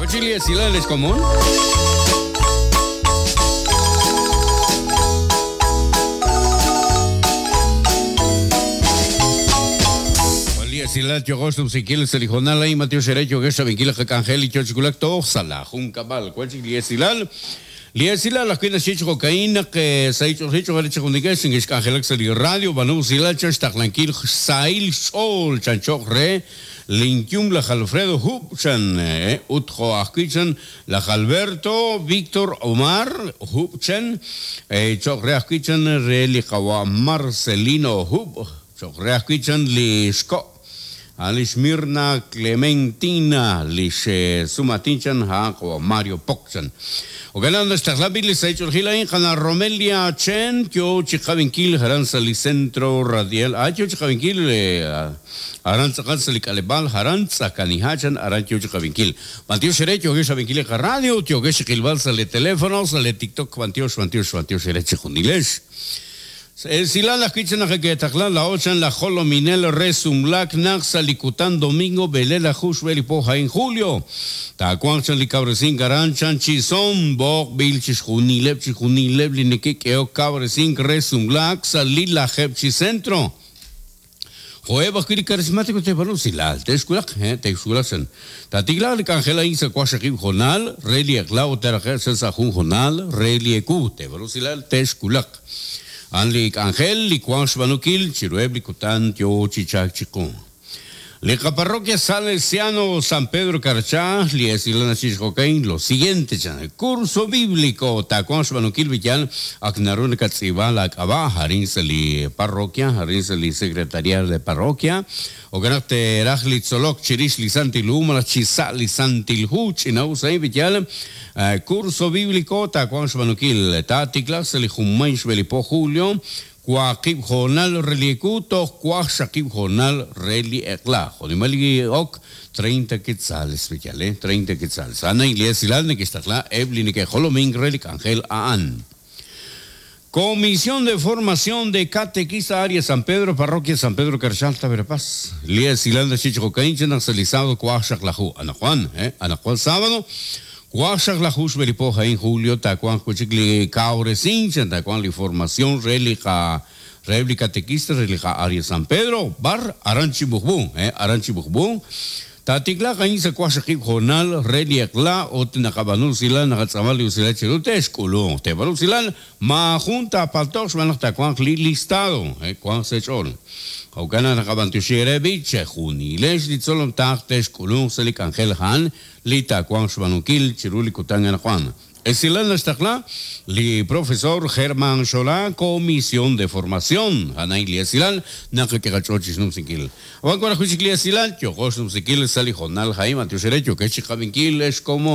Ochili esilal es común. Esilal yogosh numsikil selijonal ay Mateo Xerecho gesha vinkil kakangel y chochikulak toh sala junkabal. Cual esilal Liesila la cuina xich cocaína que se ha hecho richo garicho con digas en escangelak sali radio banu silal chach taqlankil sail sol chanchoq re linkyum la Alfredo Hubchan utjo ajkichan la Alberto Víctor Omar Hubchan choq re ajkichan re liqawa Marcelino Hub choq re ajkichan li xko Alish Mirna Clementina, Lish Sumatinchan, ha, Mario Pokchan. Oganan ixtaqlapil saych'urjilain qana Romelia Chen, yo chiqawinkil haran sali centro radial, ah, yo chiqawinkil haran tzaqal sali kalebal, haran tzaqanihachan, haran yo chiqawinkil. Bantio xerecho, yo xawinkil radio, yo xilbal sali teléfono, sali TikTok, bantio, bantio, bantio xerecho junilesh. Silan la kichan la la ochan la jolominel resumlak nak salikutan domingo belela jushbel poja en julio. Tacuanchan li cabrecín garanchan chison bok bilchis junilep chijunilep lineke keo cabrecín resumlak salila jepchi centro. Joeba kiri carismático te banu silal te esculak te esculasen. Tatigla li cangela insa kwashaqib jonal reli aklau terajer sa jun jonal reli eku te banu silal te esculak. Anlik Ángel, Licuan Xbanukil, Chirueb, Licutan, Tio, Chichac, Chicún. Lica Parroquia Salesiano San Pedro Carchá, Liesilana Chichcocaín, lo siguiente, chan, curso bíblico, Tacuan Xbanukil, Villal, Aknarun Katzibal, Akabá, Harin Parroquia, Harin Secretaría de Parroquia, Oganate Rajli Tzolok, Chirish Lisantil Umala, Chisa Lisantil Huch, Inausay, Villal, curso bíblico, Tacuan Xbanukil, Tatiklas, Lijumay, Belipo Julio, Cuaqib Jonal Reliecuto, Cuaxaqib Jonal Reliekla. Jodimali ok, 30 quetzales, Villal, 30 quetzales. Ana Iglesia Nekistakla, Eblin que Joloming Relic Ángel Aan. Comisión de Formación de Catequista Área San Pedro, Parroquia San Pedro Carchalta, Verapaz. Lías Ilanda Chicho Cainchen, Axelizado, Cuaxaqlahu. Ana Juan, Ana Juan sábado. Cuaxaqlahu, Belipoja en julio, Tacuan, Cuchicli, Cauresincha, Tacuan, la formación, Relica, Réplica Catequista, Relica Área San Pedro, Bar, Aranchi Bujbú, Aranchi Bujbú. Tatikla kain sa kwashakib jonal reliekla ot nakabanu sila nakatsamali usila chirute eskulo te baru silal ma junta paltox manakta takuan li listado kuan sechol Aukana nakabantushere biche junilesh litsolom takte eskulun selik angel han lita kuan shbanukil chiruli kutangan Juan. Esilan Estakla, li profesor Germán Solá, Comisión de Formación, Ana Ilia Silal, Nakakerachochis Numsikil. Juan Corajuchiklia Silal, Chojos Numsikil, Salijonal Jaime, Antiuserecho, que Chicavinkil es como.